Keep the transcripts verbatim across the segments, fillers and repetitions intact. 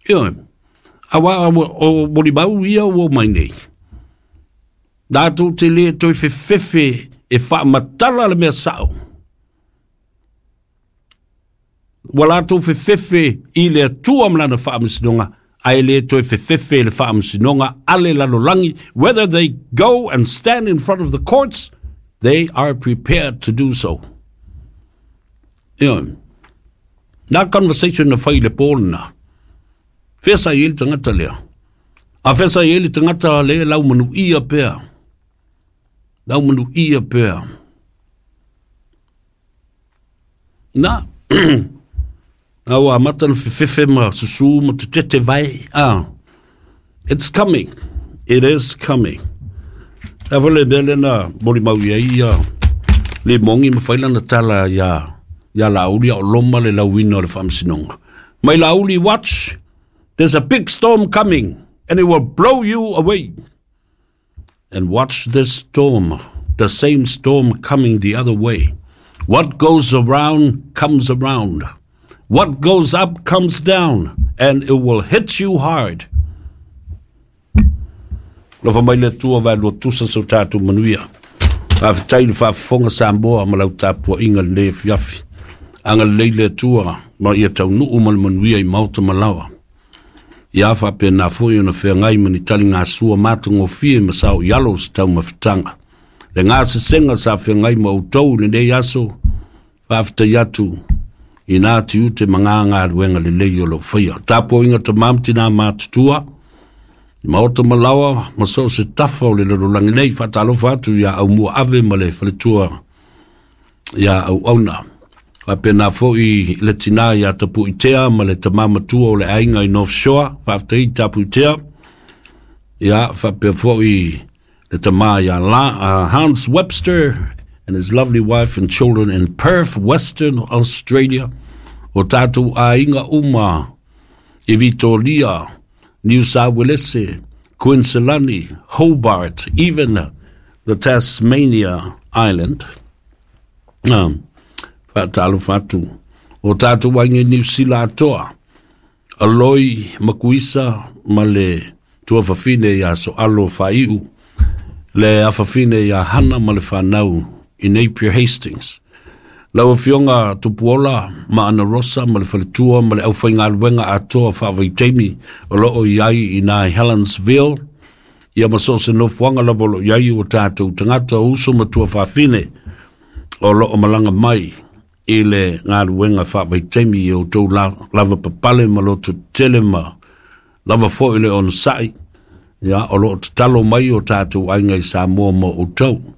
Ioe, auā o molimau ia ua omai nei, latou te lē toe fefefe e faamatala le mea sao. Ua latou fefefe i le Atua ma lana faamasinoga, ae lē toe fefefe i le faamasinoga a le lalolagi. Whether they go and stand in front of the courts, they are prepared to do so. Ioe, na conversation na fai i le pō lena. Fea sa i ai le tagata lea? A fea sa i ai le tagata lea laumanuia pea? Laumanuia pea. Na, na ua amata na fefefe ma susu ma tetete vai. Ah, it's coming. It is coming. A foi le mea lea na molimau i ai ia le mogi ma fai lana tala iā iā Laauli a o loma le lauina o le faamasinoga. Mai Laauli, watch, there's a big storm coming and it will blow you away. And watch this storm, the same storm coming the other way. What goes around comes around. What goes up comes down, and it will hit you hard. Alofa mai le Atua vaelua tusa so tatou manuia. Faafetai i le faafofoga Samoa ma lau tapuaiga lenei afiafi. Agalelei le Atua ma ia taunuu ma le manuia i maota ma laoa. Ia faapena foi ona feagai ma ni taligasua matagofie ma sao i alo o se taumafataga. Le gasesega sa feagai ma outou i lenei aso, faafetai atu i nā tiute ma ngā galuega lelei o lo o faia. Tapuaiga tamā ma tinā matutua, i maota ma laoa ma so o se tafa o le lalolagi nei, faatalofa atu iā Aumua Ave ma le faletua iā Auauna. Faapena foi le tinā iā Tapuitea ma le tamā matua o le aiga i North Shore, faafetai Tapuitea. Ia, faapea foi le tamā iā La, uh, Hans Webster and his lovely wife and children in Perth, Western Australia. O tātou aiga uma i Vitoria, Niu Sāuelese, Queensland, Hobart, even the Tasmania Island. Um, faatalofa atu. O tātou aiga i Niu Sila atoa, Aloi Makuisa ma le tuafafine iā Soalo Faaiu, le afafine iā Hana ma le whanau i Napier Hastings. Lau Afioga Tupuola ma Ana Rosa ma le faletua ma le aufaigaluega atoa faavaitaimi o lo o i ai i nā Helensville, ia ma so o se nofoaga lava o lo o i ai o tatou tagata o uso ma tuafafine o lo o malaga mai i le galuega faavaitaimi i outou lava papale ma loto tetele ma lava foi le onosai, ia o lo o tatalo mai o tatou aiga i Samoa mo outou.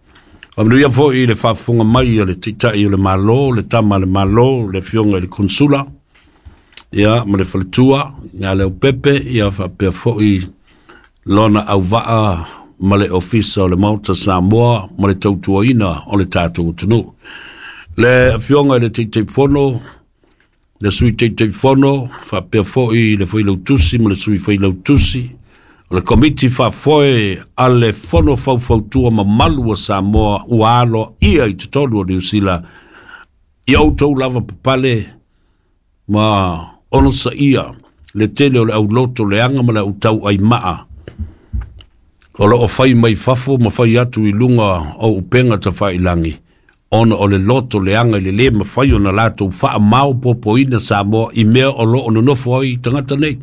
Faamanuia foi i le faafofoga mai a le Taitai o le Malo, le Tama a le Malo, le Afioga i le Konsula, ia ma le faletua ia Leaupepe, ia faapea foi lona auvaa ma le Ofisa o le Maota Samoa ma le tautuaina o le tatou atunuu. Le Afioga i le Taitaifono, le Sui Taitaifono, faapea foi le Failautusi ma le Sui Failautusi, o le Komiti Faafoe a le Fono Faufautua Mamalu a Samoa ua aloaia i totonu o Niu Sila, ia outou lava papale ma onosaia le tele o le auloto leaga ma le autauaimaa o lo o fai mai fafo ma fai atu i luga o upega tafailagi, ona o le loto leaga i le lē mafai ona latou faamaopoopoina Samoa i mea o lo o nonofo ai tagata nei.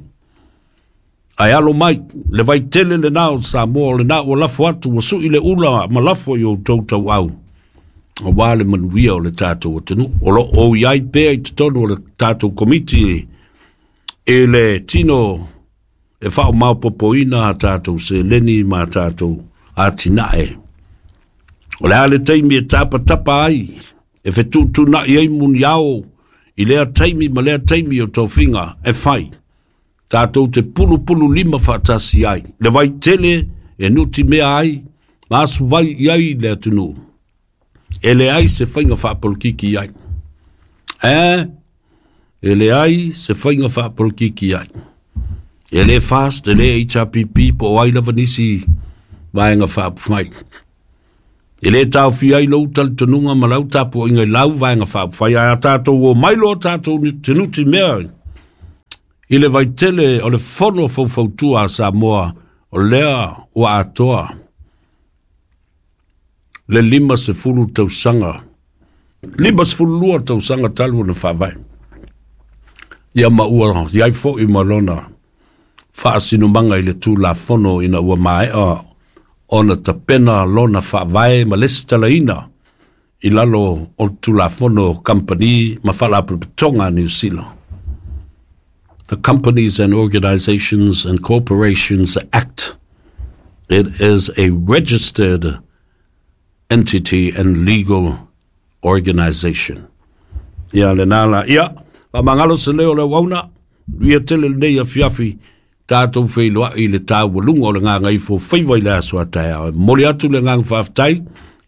Ae alo mai, le vaitele lenā o Samoa, o lenā ua lafo atu, ua sui le ula ma lafo i outou tauau, auā le manuia o le tatou atunuu. O lo o i ai pea i totonu o le tatou komiti i le tino e faamaopoopoina a tatou seleni ma a tatou atinae. O le a le taimi e tapatapa ai, e fetuutuunai ai muniao i lea taimi ma lea taimi o tofiga e fai, tatou te pulupulu lima faatasi ai, le vaitele e nutimea ai ma asuvai i ai le atunuu, e leai se faiga faapolokiki i ai. E, e leai se faiga faapolokiki i ai. E le FAST, e le H R P P, po o ai lava nisi vaega faaupufai. E le taofia ai lou talitonuga ma lau tapuaiga i lau vaega faaupufai, ae a tatou o mai loa tatou te nutimea I le vaitele o le fono faufautua a Samoa o lea ua atoa le lima sefulu tausaga, lima sefulu lua tausaga talu ona faavae. Ia ma ua iai fo'i ma lona faasinomaga i le Tulafono ina ua maea ona tapena lona faavae ma lesitalaina i lalo o le Tulafono Kamupani ma Faalapotopotoga a Niu Sila. The Companies and Organizations and Corporations Act. It is a registered entity and legal organization. Ia lena la, ia, faamagalo se leo o le auauna, ia tele lenei afiafi, tatou feiloai i le taualuga o le gagaifo faiva i le aso a taeao. E momoli atu le agaga faafetai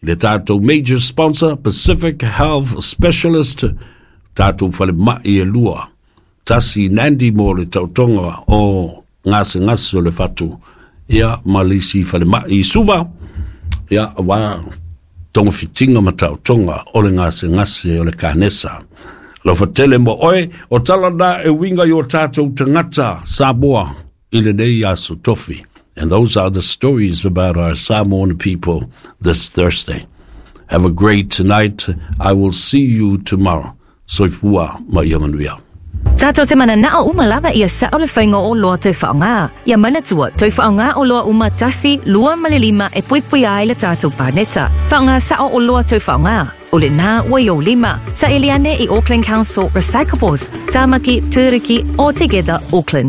i le tatou major sponsor, Pacific Health Specialist, tatou falemai e lua. Tasi Nandi mo le taotoga o gasegase o le fatu, ia ma le isi falemai i Suva, ia auā togafitiga ma taotoga o le gasegase o le kanesa. Alofa tele mo oe, o tala na e uiga i o tatou tagata Samoa i lenei aso tofi. And those are the stories about our Samoan people this Thursday. Have a great night. I will see you tomorrow. Soifua ma ia manuia. Tātou te mananao uma lava ia sao le faiga o oloa toe faaaoga. Ia manatua, toe faaaoga oloa uma tasi, lua ma le lima e puipuia ai le tatou paneta. Faaaoga sao oloa toe faaaoga. O lena ua i ou lima. Saili ane i Auckland Council Recyclables, Tamaki, Turuki, or Together Auckland.